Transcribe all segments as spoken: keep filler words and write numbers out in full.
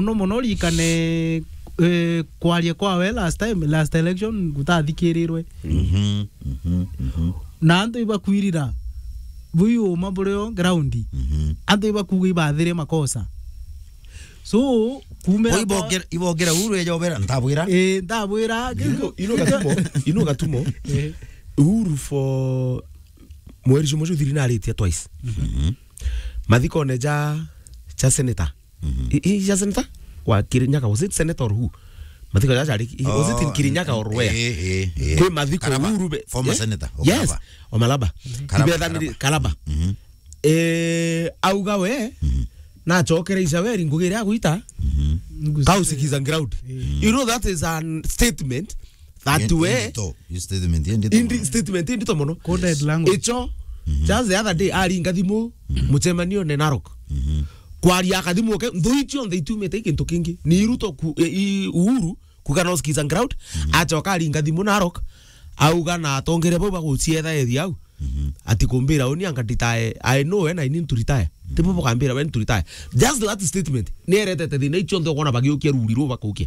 Muno muno ririkane, eh, kwaria kwawe last time, last election, gutathikirirwe. Mhm, mhm, mhm. Na antu ibakwirira, bui uma burio ground. Mhm. Antu ibakuga ibathire makosa. So, kumira Bo kwa ibongera, ibongera Uhuru eja obera, ntabwira. Eh, ntabwira. Ino, ino gatumo, ino gatumo. Eh. Uhuru for mweri jumwe juthiri naritie twice. Mhm. Mathikone ja, ja senator. Mhm. I, i, ja senator? Wa Kirinyaga, was it senator or who? Mathiko ja jari, was it in Oh, Kirinyaga or where? Eh, eh, eh. Kwi mathiko Karaba, Uhuru be-, former eh? Senator, Yes, Omalaba. Omalaba. Karaba, Ibethaniri-, Karaba. Karaba. Mhm. Eh, auga we, Mhm. nachokere Isaweri ngugi iria agwita, Mhm. Kausikiza ground. Eh. You know that is a statement that Indi-, we indito, you statement, indito indi-, mono. Statement indito mono. Coded Yes. language. Icho, Mhm. just the other day, aringa thimu, Mhm. mucemanio ne Narok. Mhm. Kwaria akathimu ke, nthui cionthe itiumite i kintu kingi. Ni Ruto ku-, e, i Uhuru, kuga no skizang ground, Mhm. acoka aringa thimu Narok, auga na atongeria bau bagucietha ethi au. Mhm. Ati kumbira uni anga nditae, I know when I need to retire. Tibo bukambira when to retire. Just that statement, ni eretete thina icio nthe ukona bagiukia ruri ru bakukia.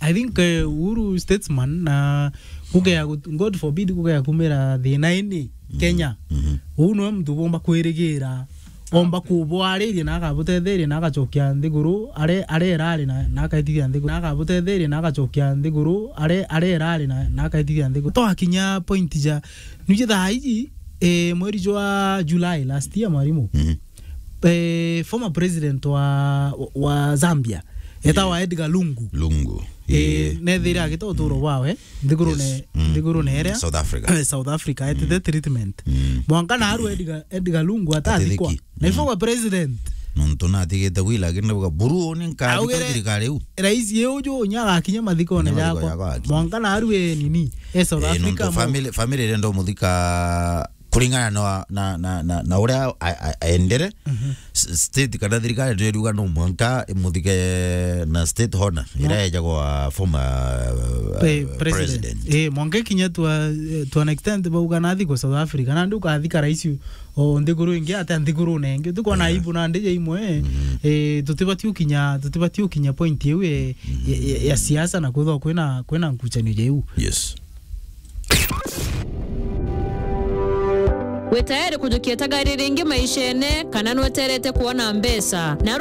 I think, eh, Uhuru statesman na kugea gut-, God forbid kugea kumira thina ini Mhm. Kenya. Mhm. Uu niwe muntu bomba kwirigira, omba kubwariria na akabutetheria na agacokia nthiguru, are, are erari na, na akaitithia nthiguru, na akabutetheria na agacokia nthiguru, are, are erari na, na akaitithia nthiguru. Twakinya point ja, nuje thaa iji, eh, mweri jwa July last year, mwarimu. Mhm. Eh, former president wa, wa Zambia, etawa Eh. Edgar Lungu. Lungu. Eh, Eh. nethire agita uturo Mm. bwawe, nthigurune, Yes. Mm. nthigurune Mm. iria South Africa. Eh, South Africa, etite Mm. treatment. Mm. Mwanka na aru Edgar, Edgar Lungu atathikwa. Atithiki. Na Mm. former president. Nontu natigite wila, lakini nauga, "Buru, ni nkathikwa Augire thirikari iu." Rais uju unya agakinya mathikone Kinya mathiko jakwa. Jakwa agakinya. Mwanka na aru e nini? E South Eh, Africa nontu mo- family, family irenda umuthika kuringana na, na, na, na, na uria a-, a-, aendere, Mhm. s-, state kana thirikari ndio iriuga no mwanka imuthike na state honor, No. iria ejagwa former, uh, Pre-, president. President. Eh, mwanka ikinya to a, to an extent bauga nathi kwa South Africa, nandi ukathika rais o nthiguru ingi, ate nthiguru nengi. Tukwona Yeah. aibu nandi ja imwe, Mhm. eh, tutibati ukinya, tutibati ukinya point iu, eh, ya, ya, ya siasa na kwithwa kwina, kwina nkuchanio ja iu. Yes. Wi tayari kujukia tagari ringi maishene, kana nweterete kuona mbeca? Na